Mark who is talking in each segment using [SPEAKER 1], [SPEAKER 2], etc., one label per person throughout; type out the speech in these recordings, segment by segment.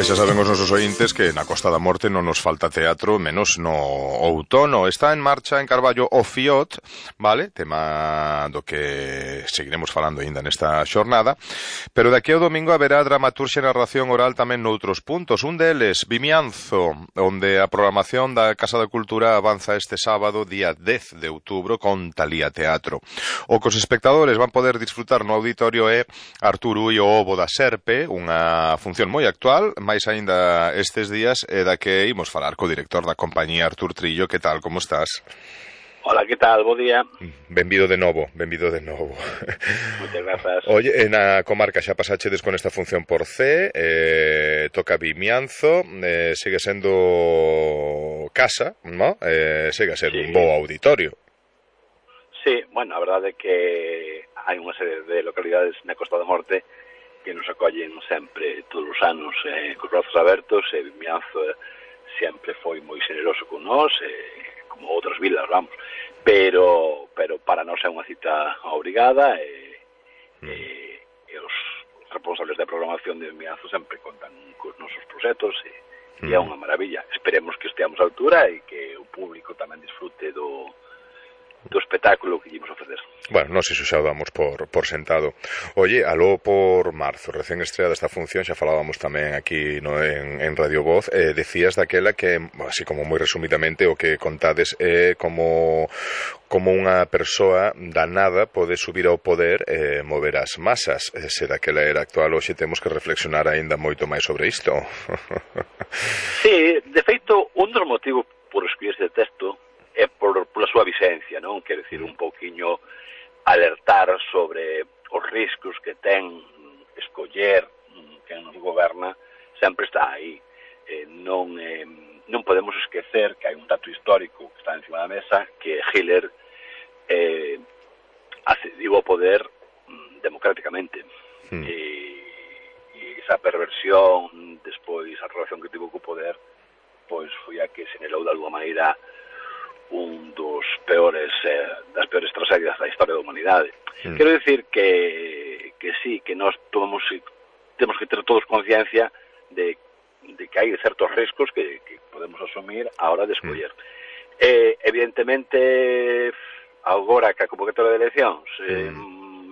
[SPEAKER 1] E xa saben os nosos ointes que na Costa da Morte non nos falta teatro, menos no outono. Está en marcha en Carballo o FIOT, vale? Tema do que seguiremos falando aínda nesta xornada. Pero daqui ao domingo haberá dramaturxia e narración oral tamén noutros puntos. Un deles, Vimianzo, onde a programación da Casa da Cultura avanza este sábado, día 10 de outubro, con Talía Teatro. O que os espectadores van poder disfrutar no auditorio é Artur Ui o Ovo da Serpe, unha función moi actual, máis aínda estes días, e da que imos falar co director da compañía, Artur Trillo. Que tal, como estás?
[SPEAKER 2] Hola, que tal? Bo día.
[SPEAKER 1] Benvido de novo, benvido de novo.
[SPEAKER 2] Moitas grazas.
[SPEAKER 1] Oye, na comarca xa pasachedes con esta función por C, toca Vimianzo, sigue sendo casa, ¿no? Sigue a ser un bo auditorio.
[SPEAKER 2] Sí, bueno, a verdade é que hai unha serie de localidades na Costa da Morte que nos acollen sempre todos os anos cos brazos abertos, e Vimianzo sempre foi moi xeneroso con nós, como outras vilas, vamos, pero para nós é unha cita obrigada, e os responsables da programación de Vimianzo sempre contan cos nosos proxectos, e é unha maravilla. Esperemos que esteamos á altura e que o público tamén disfrute do espectáculo que ímos ofrecer.
[SPEAKER 1] Bueno, non sei se xa o damos por sentado. Oye, aló por marzo, recén estreada esta función, xa falábamos tamén aquí en Radio Voz, decías daquela que, así como moi resumidamente, o que contades é como unha persoa da nada pode subir ao poder e mover as masas. Se daquela era actual, hoxe temos que reflexionar aínda moito máis sobre isto.
[SPEAKER 2] Sí, de feito, un dos motivos por escribir este texto é pola súa visencia, non? Quero dicir, un pouquiño alertar sobre os riscos que ten escoller quen nos goberna, sempre está aí. Non podemos esquecer que hai un dato histórico que está encima da mesa, que Hitler accediu ao poder democráticamente. E esa perversión, despois a relación que tivo co poder, pois foi a que señalou de alguma maneira un dos das peores tragedias da historia da humanidade. Quero dicir que sí, que nós temos que ter todos conciencia de que hai certos riscos que podemos asumir a hora de escoller. Evidentemente, agora que a convocatoria de eleccións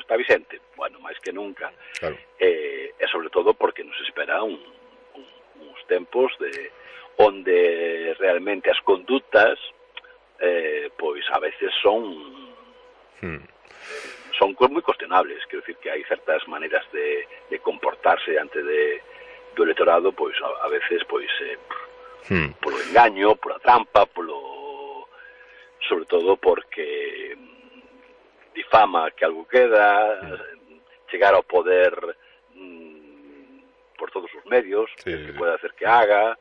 [SPEAKER 2] está vigente, bueno, máis que nunca, claro. E sobre todo porque nos espera uns tempos onde realmente as condutas pois a veces son moi cuestionables. Quero dicir que hai certas maneiras de comportarse diante do electorado, pois a veces pois polo engaño, pola trampa, sobre todo porque difama que algo queda, chegar ao poder por todos os medios, que pode hacer que haga.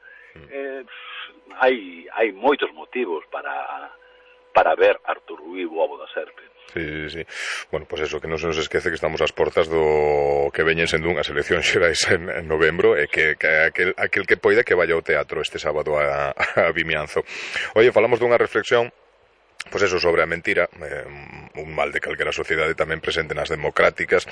[SPEAKER 2] Hai moitos motivos para ver Artur Ui o Ovo da Serpe.
[SPEAKER 1] Sí. Bueno, pois eso, que non se nos esquece que estamos ás portas do que veñen sendo unhas eleccións xerais en novembro, e que aquel que poida que vaya ao teatro este sábado a Vimianzo. Oye, falamos dunha reflexión, pois eso, sobre a mentira, un mal de calquera sociedade tamén presente nas democráticas,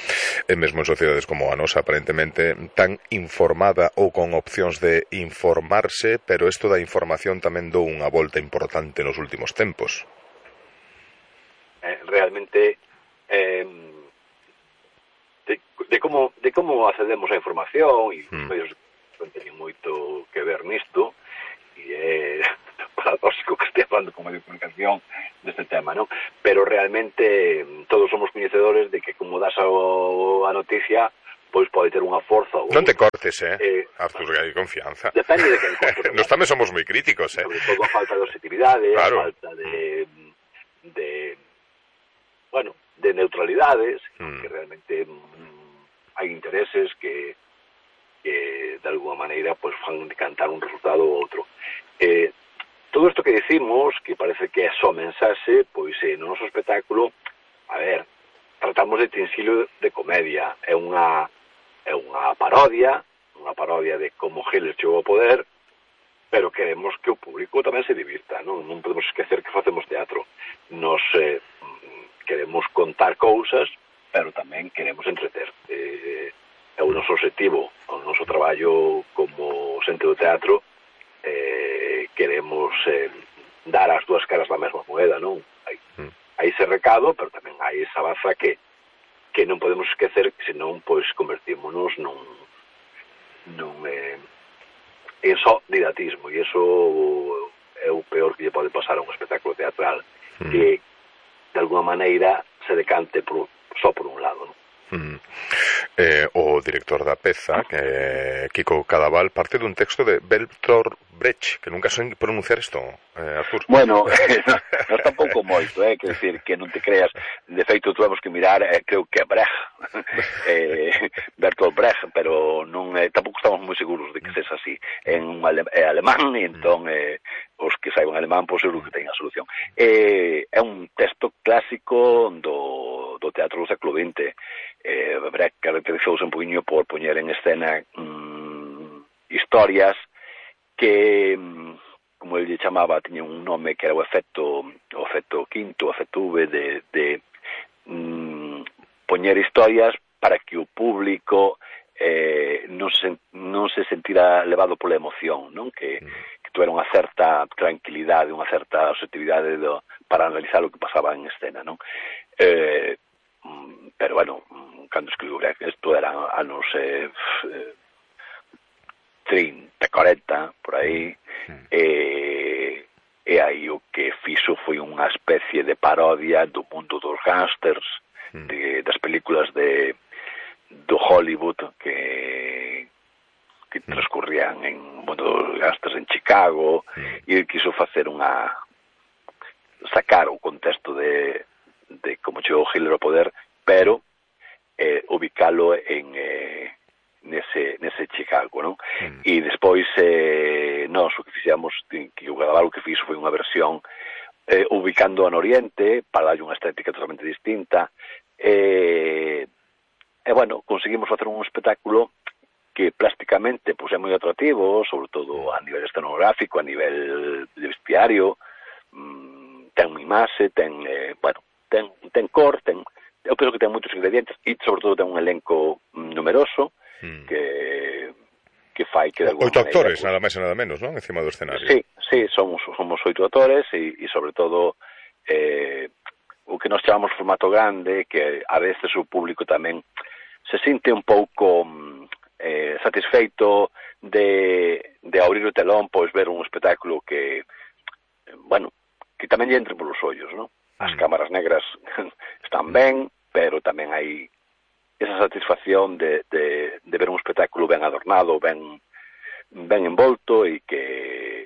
[SPEAKER 1] e mesmo en sociedades como a nosa, aparentemente tan informada ou con opcións de informarse, pero isto da información tamén dou unha volta importante nos últimos tempos.
[SPEAKER 2] Realmente de como accedemos á información, e os medios teñen moito que ver nisto, e é paradóxico que este falando con medio de comunicación deste tema, non? Pero realmente todos somos coñecedores de que como das a noticia, pois pode ter unha forza.
[SPEAKER 1] Non te cortes, Artur, que hai confianza.
[SPEAKER 2] Depende de quen cortes.
[SPEAKER 1] Nos tamén somos moi críticos,
[SPEAKER 2] Sobre todo a falta de objetividade,
[SPEAKER 1] claro.
[SPEAKER 2] A falta de neutralidades, que realmente hai intereses que de alguma maneira pois fan decantar un resultado ou outro. Todo isto que decimos, que parece que é só mensaxe, pois no noso espectáculo, a ver, tratamos de tinsilo de comedia. É unha parodia de como Hitler chegou ao poder, pero queremos que o público tamén se divirta, non podemos esquecer que facemos teatro. Nos queremos contar cousas, pero tamén queremos entreter. É o noso objetivo, o noso traballo como xente do teatro queremos dar as dúas caras da mesma moeda, non? Hai ese recado, pero tamén hai esa baza que non podemos esquecer, que senón pois convertímonos en só didatismo, e iso é o peor que lle pode pasar a un espectáculo teatral, que de alguma maneira se decante só por un lado, non?
[SPEAKER 1] O director da peza, Kiko Cadaval, parte dun texto de Bertolt Brecht, que nunca sei pronunciar isto, Artur.
[SPEAKER 3] Bueno, non tampouco moito, quer decir, que non te creas, de feito tuvemos que mirar, creo que é Brecht, Bertolt Brecht, pero non tampouco estamos moi seguros de que sexa así, é alemán, e entón os que saiban alemán, pois seguro que teñen a solución. É un texto clásico do teatro do século XX. Brecht caracterizouse un poquinho por poñer en escena historias que, como ele chamaba, tiña un nome que era o efecto quinto, o efecto V, de poñer historias para que o público non se sentira levado pola emoción, non? Que tuvera unha certa tranquilidade, unha certa objetividade para analizar o que pasaba en escena, non? Pero, bueno, cando escribiu Brecht, isto eran anos 30, 40, por aí, e aí o que fixo foi unha especie de parodia do mundo dos gángsters, das películas do Hollywood que transcurrían en mundo dos gángsters en Chicago, e quiso facer sacar o contexto de como chegou Hitler ao poder, pero ubicalo nese Chicago, non? E despois nós o que fixemos, que o Cadaval o que fixo foi unha versión ubicando no Oriente para darlle unha estética totalmente distinta, e bueno, conseguimos facer un espectáculo que plásticamente pois, é moi atractivo, sobre todo a nivel escenográfico, a nivel de vestiario, ten imaxe, ten cor, eu penso que ten moitos ingredientes e sobre todo ten un elenco numeroso que fai que de alguma
[SPEAKER 1] 8 actores,
[SPEAKER 3] pues,
[SPEAKER 1] nada máis e nada menos, non? Encima do escenario.
[SPEAKER 3] Sí, somos 8 actores e sobre todo o que nos chamamos formato grande, que a veces o público tamén se sinte un pouco satisfeito de abrir o telón, pois ver un espectáculo que, bueno, que tamén lle entre polos ollos, non? As cámaras negras están ben, pero tamén hai esa satisfacción de ver un espectáculo ben adornado, ben envolto e que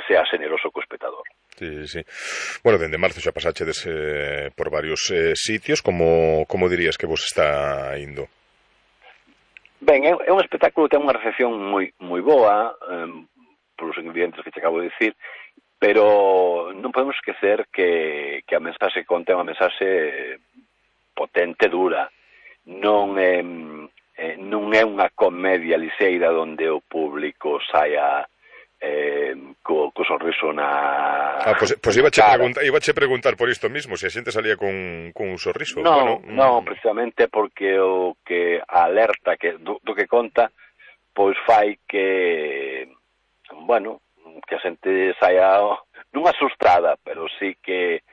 [SPEAKER 3] sea generoso co espectador.
[SPEAKER 1] Sí. Bueno, dende marzo xa pasachedes por varios sitios, como dirías que vos está indo?
[SPEAKER 3] Ben, é un espectáculo que ten unha recepción moi boa, polos ingredientes que te acabo de dicir, pero non podemos esquecer que a mensaxe conta é unha mensaxe potente, dura. Non é unha comedia liseira onde o público saia co sorriso na
[SPEAKER 1] pois ibache preguntar por isto mismo, se a xente salía con un sorriso.
[SPEAKER 3] Non, precisamente porque o que alerta do que conta pois fai que, bueno, que a xente saia non asustada, pero sí que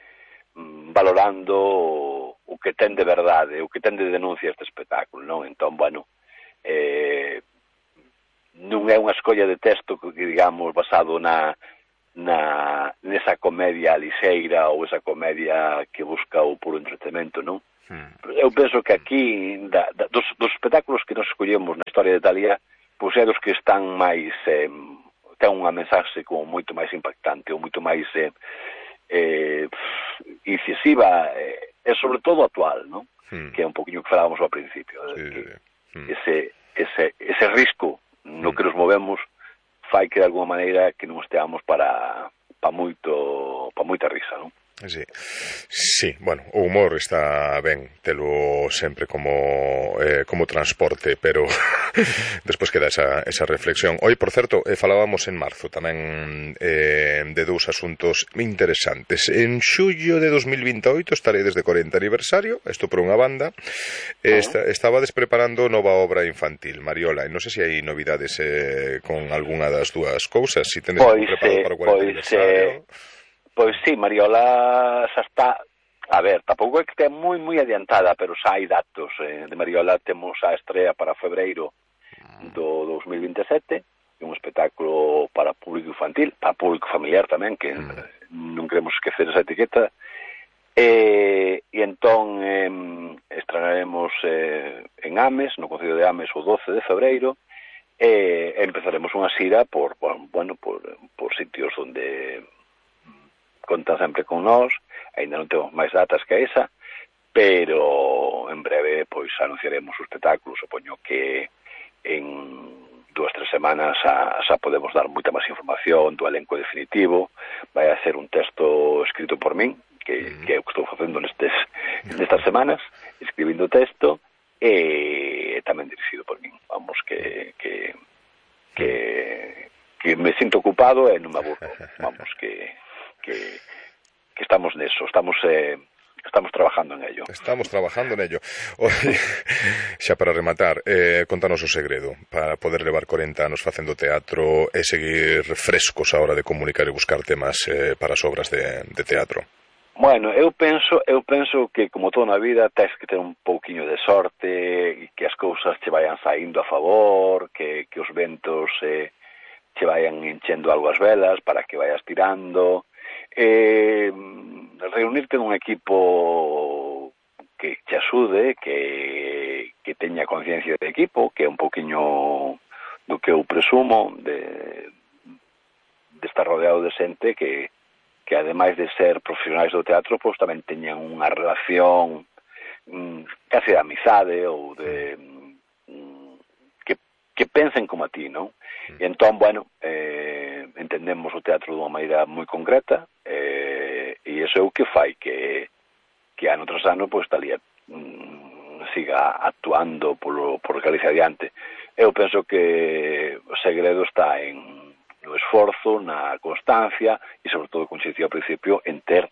[SPEAKER 3] valorando o que ten de verdade, o que ten de denuncia este espectáculo, non? Entón, bueno, non é unha escolla de texto que, digamos, basado nesa comedia liseira ou esa comedia que busca o puro entretenimento, non? Eu penso que aquí, dos espectáculos que nos escollemos na historia de Italia, pois é dos que están máis ten unha mensaxe como moito máis impactante ou moito máis incisiva e sobre todo actual, non? Que é un poquinho que falábamos ao principio, ese risco no que nos movemos fai que de alguma maneira que non esteamos para moita risa, non?
[SPEAKER 1] Sí, bueno, o humor está ben telo sempre como transporte, pero despois queda esa reflexión. Hoy, por certo, falábamos en marzo tamén de dous asuntos interesantes. En xullo de 2028 estaredes de 40 aniversario, isto por unha banda. Estabades preparando nova obra infantil, Mariola, e non sei se hai novidades con algunha das dúas cousas, se tendes preparado para o 40 aniversario.
[SPEAKER 3] Pois sí, Mariola xa está, a ver, tampouco é que estea moi adiantada, pero xa hai datos. De Mariola temos a estrea para febreiro do 2027, un espectáculo para público infantil, para público familiar tamén, que non queremos esquecer esa etiqueta, e entón estrenaremos en Ames, no Concello de Ames, o 12 de febreiro, e empezaremos unha xira por sitios onde contan sempre con nós. Ainda non temos máis datas que esa, pero en breve pois anunciaremos o espectáculo. Supoño que en 2-3 semanas xa podemos dar moita máis información do elenco definitivo. Vai a ser un texto escrito por min, que é o que estou facendo nestas semanas, escribindo texto, e tamén dirixido por min. Vamos, que me sinto ocupado e non me aburro. Vamos, que estamos neso, estamos trabajando en ello.
[SPEAKER 1] Estamos trabajando en ello. Oye, xa para rematar, contanos o segredo para poder levar 40 anos facendo teatro e seguir frescos a hora de comunicar e buscar temas para as obras de teatro.
[SPEAKER 3] Bueno, eu penso que, como toda na vida, tens que ter un pouquiño de sorte e que as cousas che vayan saindo a favor, que os ventos che vayan enchendo algo as velas para que vayas tirando. Reunirte nun equipo que te axude, que teña conciencia de equipo, que é un poquinho do que eu presumo de estar rodeado de xente que ademais de ser profesionais do teatro, pois tamén teñan unha relación casi de amizade ou de que pensen como a ti, non? E entón, bueno, entendemos o teatro dunha maneira moi concreta, e iso é o que fai que ano tras ano pois Talía siga actuando por Galicia adiante. Eu penso que o segredo está no esforzo, na constancia e sobre todo, como se dicía ao principio, en ter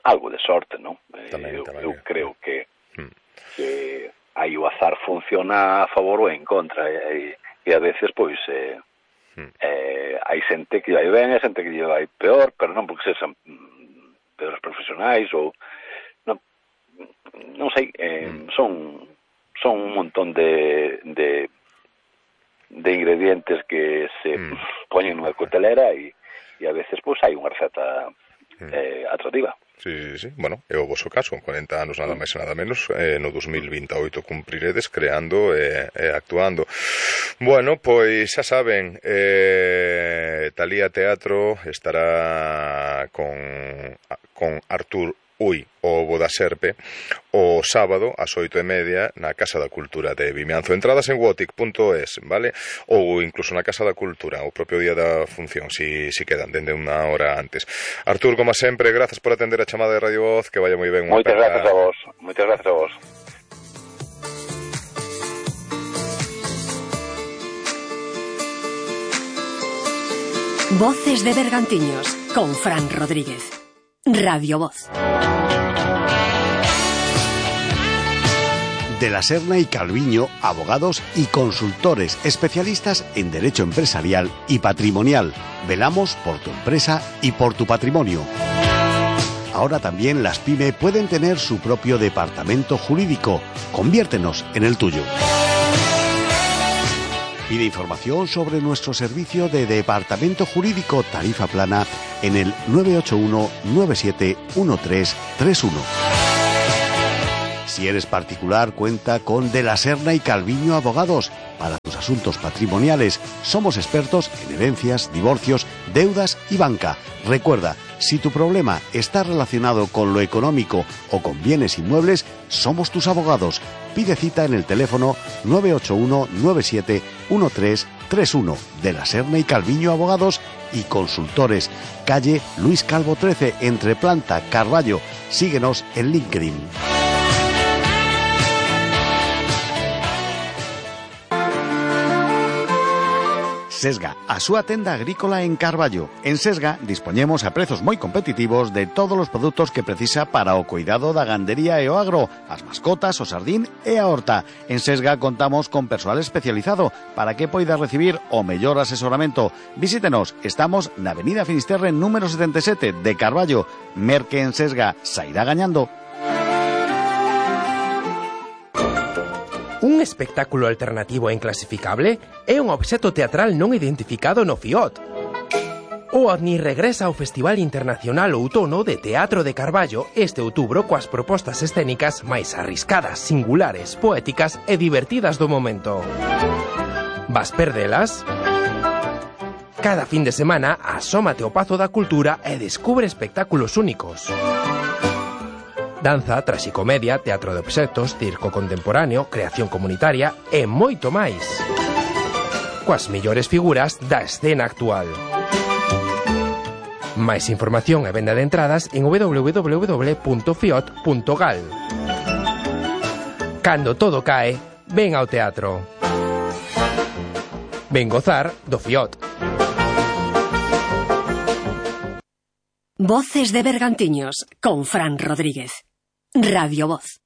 [SPEAKER 3] algo de sorte, non? Eu creo que aí o azar funciona a favor ou en contra, e a veces pois hai xente que vai ben e xente que vai peor, pero non porque sexan peores profesionais ou non sei, son un montón de ingredientes que se poñen nunha cotelera e a veces pois hai unha receta atractiva.
[SPEAKER 1] Sí, bueno, é o voso caso, 40 anos nada máis e nada menos, no 2028 cumpriredes creando e actuando. Bueno, pois xa saben, Talía Teatro estará con Artur Ui, o Bo da Serpe, o sábado ás 8:30 na Casa da Cultura de Vimianzo. Entradas en wotic.es, vale? Ou incluso na Casa da Cultura, o propio día da función, si quedan, dende unha hora antes. Artur, como sempre, grazas por atender a chamada de Radio Voz, que vaya moi ben.
[SPEAKER 3] Moitas grazas a vos, moitas grazas a vos.
[SPEAKER 4] Voces de Bergantiños, con Fran Rodríguez. Radio Voz.
[SPEAKER 5] De la Serna y Calviño, abogados y consultores especialistas en derecho empresarial y patrimonial. Velamos por tu empresa y por tu patrimonio. Ahora también las PYME pueden tener su propio departamento jurídico. Conviértenos en el tuyo. Pide información sobre nuestro servicio de departamento jurídico tarifa plana en el 981-971331. Si eres particular, cuenta con De la Serna y Calviño Abogados. Para tus asuntos patrimoniales, somos expertos en herencias, divorcios, deudas y banca. Recuerda, Si tu problema está relacionado con lo económico o con bienes inmuebles, somos tus abogados. Pide cita en el teléfono 981-97-1331 de la Serna y Calviño Abogados y Consultores, calle Luis Calvo 13, entre Planta, Carballo. Síguenos en LinkedIn. Sesga, a súa tenda agrícola en Carballo. En Sesga dispoñemos a prezos moi competitivos de todos os produtos que precisa para o cuidado da gandería e o agro, as mascotas, o sardín e a horta. En Sesga contamos con persoal especializado para que poida recibir o mellor asesoramento. Visítenos, estamos na Avenida Finisterre número 77 de Carballo. Merque en Sesga, sairá gañando.
[SPEAKER 6] Un espectáculo alternativo e inclasificable é un obxecto teatral non identificado no FIOT. O OVNI regresa ao Festival Internacional Outono de Teatro de Carballo este outubro coas propostas escénicas máis arriscadas, singulares, poéticas e divertidas do momento. Vas perdelas? Cada fin de semana asómate ao Pazo da Cultura e descubre espectáculos únicos. Danza, traxicomedia, teatro de obxectos, circo contemporáneo, creación comunitaria e moito máis. Coas mellores figuras da escena actual. Máis información e venda de entradas en www.fiot.gal. Cando todo cae, ven ao teatro. Ven gozar do FIOT.
[SPEAKER 4] Voces de Bergantiños con Fran Rodríguez. Radio Voz.